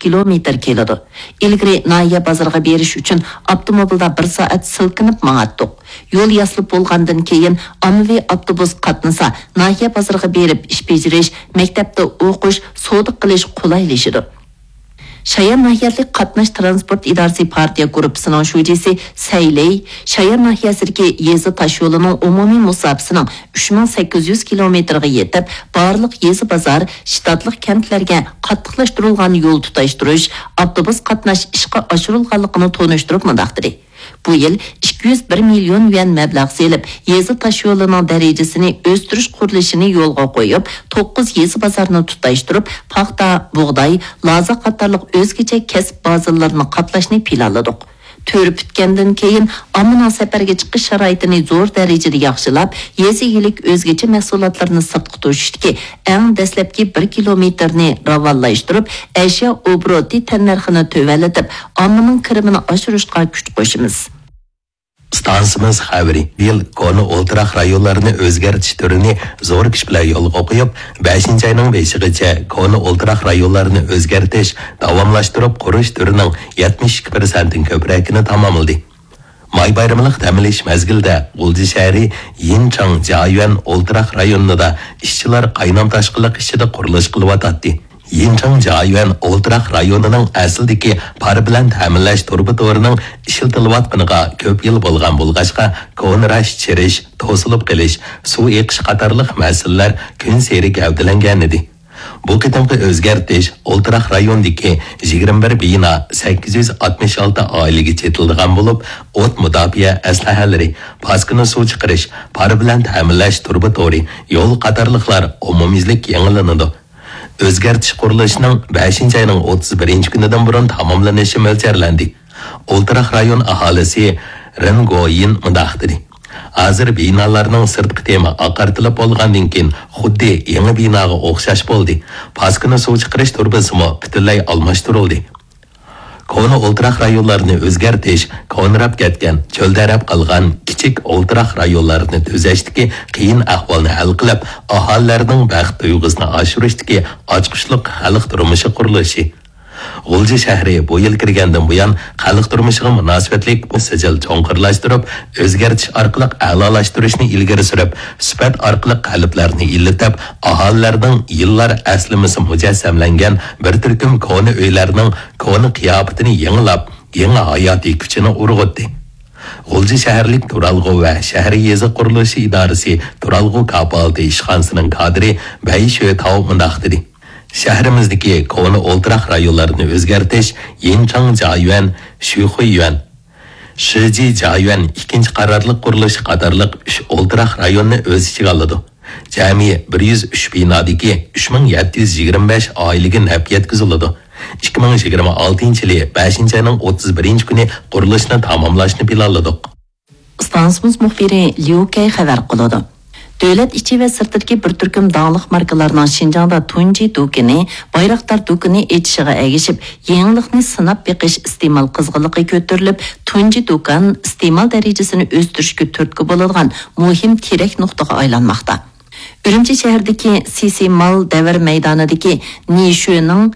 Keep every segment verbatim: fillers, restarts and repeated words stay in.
كىلومېتىر كېلىدۇ. ئىلگىرى ناھىيە بازىرىغا بېرىش ئۈچۈن ئاپتوموبىلدا بىر سائەت سىلكىنىپ ماڭاتتۇق. يول ياسىلىپ بولغاندىن كېيىن ئاممىۋى ئاپتوبۇس قاتنىسا، ناھىيە بازىرىغا بېرىپ ئىش بېجىرىش، مەكتەپتە ئوقۇش، سودا قىلىش قولايلىشىدۇ. شايان ناھىيەلىك قاتناش تىرانسپورت ئىدارىسى پارتىيە گۇرۇپپىسىنىڭ شۇجىسى سەي لېي شايان ناھىيەسىدىكى يېزا تاشيولىنىڭ ئومۇمىي مۇساپىسىنىڭ ئۈچ مىڭ سەككىز يۈز كىلومېتىرغا يېتىپ، بارلىق يېزا بازار، شتاتلىق كەنتلەرگە قاتتىقلاشتۇرۇلغان يول تۇتاشتۇرۇش، ئاپتوبۇس قاتناش ئىشقا ئاشۇرۇلغانلىقىنى تونۇشتۇرۇپ مۇنداق دېدى: بۇ يىل ئىككى يۈز بىر مىليون يۈەن مەبلەغ سېلىپ، يېزا تاشيولىنىڭ دەرىجىسىنى ئۆستۈرۈش قۇرۇلۇشىنى يولغا قويۇپ، توققۇز يېزا بازارنى تۇتاشتۇرۇپ، پاختا، بۇغداي، لازا قاتارلىق ئۆزگىچە كەسىپ بازىلىرىنى قاپلاشنى پىلانلىدۇق. تۈرى پۈتكەندىن كېيىن، ئاممىنىڭ سەپەرگە چىقىش شارائىتىنى زور دەرىجىدە ياخشىلاپ، يېزا ئىگىلىك ئۆزگىچە مەھسۇلاتلىرىنى سىرتقا توشۇشتىكى ئەڭ دەسلەپكى بىر كىلومېتىرنى راۋانلاشتۇرۇپ، ئەشيا ئوبوروتى تەننەرخىنى تۆۋەنلىتىپ، ئاممىنىڭ كىرىمىنى ئاشۇرۇشقا كۈچ قوشىمىز. ئىستانسىمىز خەۋىرى، بۇ يىل كونا ئولتۇراق رايونلارنى ئۆزگەرتىش تۈرىنى زور كۈچ بىلەن يولغا قويۇپ، بەشىنچى ئاينىڭ بېشىغىچە كونا ئولتۇراق رايونلارنى ئۆزگەرتىش، داۋاملاشتۇرۇپ قۇرۇش تۈرىنىڭ يەتمىش ئىككى پىرسەنتتىن كۆپرەكىنى تاماملىدى. ماي بايرىملىق دەم ئېلىش مەزگىلىدە غۇلجا شەھىرى يىنچاڭ جيايۈەن ئولتۇراق رايونىدا ئىشچىلار قاينام تاشقىنلىق ئىچىدە قۇرۇلۇش قىلىۋاتاتتى. يىنچاڭ جيايۈەن ئولتۇراق رايونىنىڭ ئەسلىدىكى پار بىلەن تەمىنلەش تۇرۇبا تورىنىڭ ئىشلىتىلىۋاتقىنىغا كۆپ يىل بولغان بولغاچقا، كونىراش چىرىش، توسۇلۇپ قېلىش، سۇ ئېقىش قاتارلىق مەسىلىلەر كۈنسېرى گەۋدىلەنگەنىدى. بۇ قېتىمقى ئۆزگەرتىش ئولتۇراق رايوندىكى يىگىرمە بىر بىنا، سەككىز يۈز ئاتمىش ئالتە ئائىلىگە چېتىلىدىغان بولۇپ، ئوت مۇداپىئە ئەسلىھەلىرى، پاسكىنا سۇ چىقىرىش، پار بىلەن تەمىنلەش تۇرۇبا تورى، يول قاتارلىقلار ئومۇميۈزلۈك يېڭىلىنىدۇ. ئۆزگەرتىش قۇرۇلۇشىنىڭ بەشىنچى ئاينىڭ ئوتتۇز بىرىنچى كۈنىدىن بۇرۇن تاماملىنىشى مۆلچەرلەندى. ئولتۇراق رايون ئاھالىسى رېن گويىن مۇنداق دېدى: ھازىر بىنالارنىڭ سىرتقى تېمى ئاقارتىلىپ بولغاندىن كېيىن، خۇددى يېڭى بىناغا ئوخشاش بولدى. پاسكىنا سۇ چىقىرىش تۇرۇبىسىمۇ پۈتۈنلەي ئالماشتۇرۇلدى. كونا ئولتۇراق رايونلارنى ئۆزگەرتىش، كونىراپ كەتكەن، چۆلدەرەپ قالغان كىچىك ئولتۇراق رايونلارنى تۈزەشتىكى قىيىن ئەھۋالنى ھەل قىلىپ، ئاھالىلەرنىڭ بەخت تۇيغۇسىنى ئاشۇرۇشتىكى ئاچقۇچلۇق خەلق تۇرمۇشى قۇرۇلۇشى. غۇلجا شەھىرى بۇ يىل كىرگەندىن بۇيان، خەلق تۇرمۇشىغا مۇناسىۋەتلىك بۇ سىجىل چوڭقۇرلاشتۇرۇپ، ئۆزگەرتىش ئارقىلىق ئەلالاشتۇرۇشنى ئىلگىرى سۈرۈپ، سۈپەت ئارقىلىق قەلبلەرنى ئىللىتىپ، ئاھالىلەرنىڭ يىللار ئەسلىمىسى مۇجەسسەملەنگەن بىر تۈركۈم كونا ئۆيلەرنىڭ كونا قىياپىتىنى يېڭىلاپ، يېڭى ھاياتىي كۈچىنى ئۇرغۇتتى. غۇلجا شەھەرلىك تۇرالغۇ ۋە شەھەر يېزا قۇرۇلۇشى ئىدارىسى تۇرالغۇ كاپالىتى ئىشخانىسىنىڭ كادىرى بەي شۆتاۋ مۇنداق دېدى: شەھىرىمىزدىكى كونا ئولتۇراق رايونلارنى ئۆزگەرتىش يىنچاڭ جيايۈەن، شۈخۇيۈەن، شىجى جيايۈەن ئىككىنچى قارارلىق قۇرۇلۇشى قاتارلىق ئۈچ ئولتۇراق رايوننى ئۆز ئىچىگە ئالىدۇ. جەمئىي بىر يۈز ئۈچ بىنادىكى ئۈچ مىڭ يەتتە يۈز يىگىرمە بەش ئائىلىگە نەپ يەتكۈزۈلىدۇ. ئىككى مىڭ يىگىرمە ئالتىنچى يىلى بەشىنچى ئاينىڭ ئوتتۇز بىرىنچى كۈنى قۇرۇلۇشنى تاماملاشنى پىلانلىدۇق. ئىستانسىمىز مۇخبىرى ليۇ كەي خەۋەر قىلىدۇ. دۆلەت ئىچى ۋە سىرتىدىكى بىر تۈركۈم داڭلىق ماركىلارنىڭ شىنجاڭدا تۇنجى دۇكىنى، بايراقدار دۇكىنى ئېچىشىغا ئەگىشىپ، يېڭىلىقنى سىناپ بېقىش ئىستېمال قىزغىنلىقى كۆتۈرۈلۈپ، تۇنجى دۇكان ئىستېمال دەرىجىسىنى ئۆستۈرۈشكە تۈرتكە بولىدىغان مۇھىم تىرەك نۇقتىغا ئايلانماقتا. ئۈرۈمچى شەھىرىدىكى سىسى مال دەۋر مەيدانىدىكى نىشۈنىڭ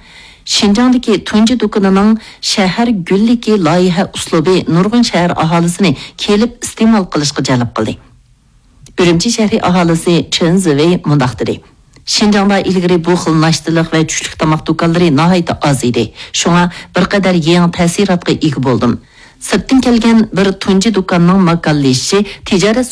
شىنجاڭدىكى تۇنجى دۇكىنىنىڭ شەھەر گۈللۈكى لايىھە ئۇسلۇبى نۇرغۇن شەھەر ئاھالىسىنى كېلىپ ئىستېمال قىلىشقا جەلپ قىلدى. ئۈرۈمچى شەھىرى ئاھالىسى چېن زىۋېي مۇنداق دېدى: شىنجاڭدا ئىلگىرى بۇ خىل ناشتىلىق ۋە چۈشلۈك تاماق دۇكانلىرى ناھايىتى ئاز ئىدى. شۇڭا بىر قەدەر يېڭى تەسىراتقا ئىگە بولدۇم. سىرتتىن كەلگەن بىر تۇنجى دۇكاننىڭ ماكانلىشىشى تىجارەت